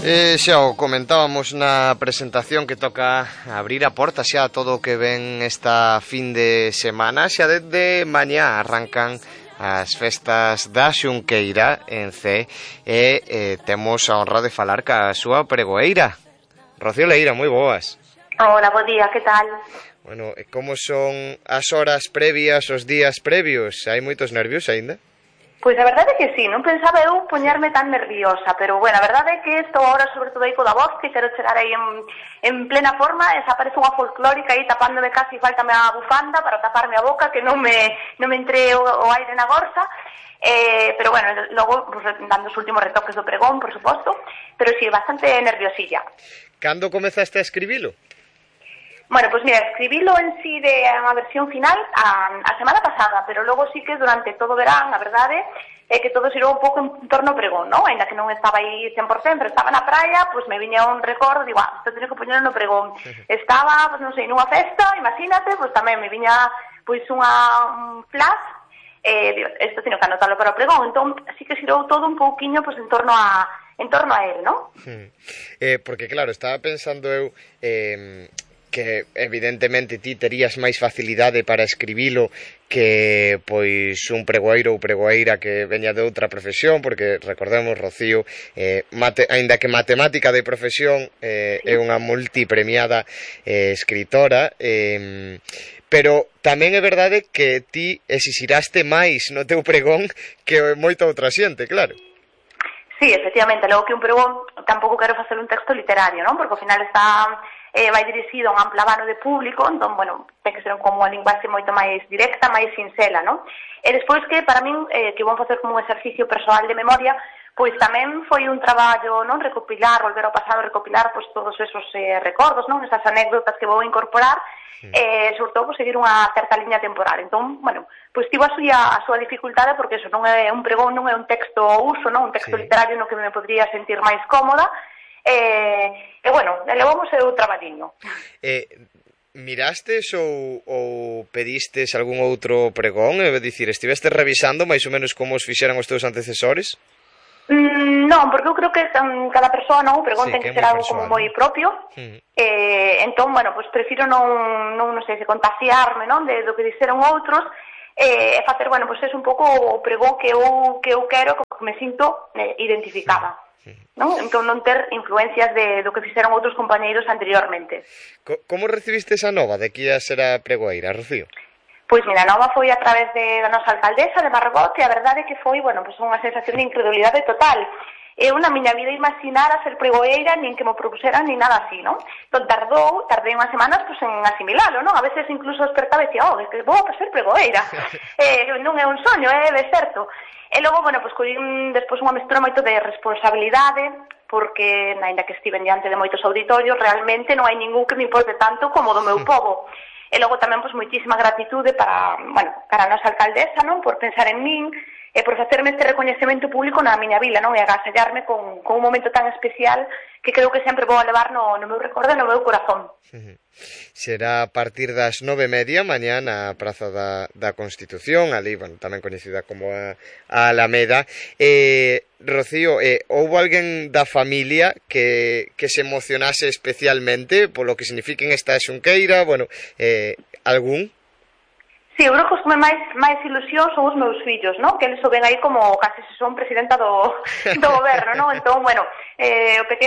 Xa o comentábamos na presentación que toca abrir a porta xa a todo o que ven esta fin de semana. Xa desde mañá arrancan as festas da Xunqueira en C e temos a honra de falar ca súa pregoeira. Rocío Leira, moi boas. Hola, bo día, que tal? Bueno, como son as horas previas, os días previos? Hai moitos nervios aínda? Pois a verdade é que sí, non pensaba eu poñerme tan nerviosa, pero bueno, a verdade é que estou agora sobre todo aí co da voz, que quero chegar aí en plena forma, esa parece unha folclórica aí tapándome casi, faltame a bufanda para taparme a boca, que non me entre o aire na gorsa, pero bueno, logo pues, dando os últimos retoques do pregón, por suposto, pero sí, bastante nerviosilla. Cando comezaste a escribilo? Bueno, pues mira, escribilo en sí de unha versión final a semana pasada, pero logo sí que durante todo o verán, a verdade, é que todo xirou un pouco en torno ao pregón, non? Ainda que non estaba aí 100%, pero estaba na praia, pues me viña un recordo, digo, isto teño que poñer no pregón. Estaba, pues non sei, nunha festa, imagínate, pues tamén me viña pues un flash, isto teño que anotalo para o pregón, entón sí que xirou todo un pouquiño pues en torno a él, non? Porque claro, estaba pensando eu que evidentemente ti terías máis facilidade para escribilo que pois un pregoeiro ou pregoeira que veña de outra profesión, porque recordemos, Rocío, aínda que matemática de profesión, é unha multipremiada escritora, pero tamén é verdade que ti exixiraste máis no teu pregón que moita outra xente, claro. Sí, efectivamente, logo que un pregón tampouco quero facer un texto literario, non? Porque ao final está vai dirixido a un amplo abano de público, entón, bueno, ten que ser como unha linguaxe moito máis directa, máis sinxela, non? E despois que, para min, que vou facer como un exercicio persoal de memoria, pois tamén foi un traballo, non? Recopilar, volver ao pasado, recopilar, pois, todos esos recordos, non? Esas anécdotas que vou incorporar, sobre todo, pois, seguir unha certa liña temporal. Entón, bueno, pois tivo a súa dificultade, porque eso non é un pregón, non é un texto ao uso, non? Un texto literario no que me podría sentir máis cómoda, e bueno, levamos o traballiño. Mirastes ou pedistes algún outro pregón? É dicir, estiveste revisando máis ou menos como os fixeran os teus antecesores? Non, porque eu creo que cada persoa, non, o pregón ten que ser algo como moi propio. Entón, bueno, pues prefiro non sei, se contagiarme, non, do que dixeron outros, e facer, bueno, pues é un pouco o pregón que eu quero, que me sinto identificada. Non? Entón non ter influencias do que fixeron outros compañeiros anteriormente. Como recibiste esa nova de que ia ser a pregoeira, Rocío? Pois mira, a nova foi a través da nosa alcaldesa de Margot, e a verdade é que foi, bueno, pues unha sensación de incredulidade total. Eu na miña vida imaginara ser pregoeira, nin que me propuseran, nin nada así, non? Entón tardei unhas semanas pues, en asimilalo, non? A veces incluso despertaba e dicía, é que vou a ser pregoeira. Non é un soño, é de certo. E logo, bueno, pues collín despois unha mestura moito de responsabilidade, porque, aínda que estiven diante de moitos auditorios, realmente non hai ningún que me importe tanto como do meu pobo. E logo tamén, pues, moitísima gratitude para a nosa alcaldesa, non? Por pensar en min, e por facerme este recoñecemento público na miña vila, non? E agasallarme con un momento tan especial que creo que sempre vou a levar no meu recordo e no meu corazón. Será a partir das 9:30 mañá na Praza da Constitución, ali, bueno, tamén coñecida como a Alameda. Rocío, houbo alguén da familia que se emocionase especialmente polo que signifiquen esta xunqueira, bueno, algún? Sí, eu creo que os que máis ilusión son os meus fillos, non? Que eles o ven aí como casi se son presidenta do goberno, non? Entón, bueno, o pequeno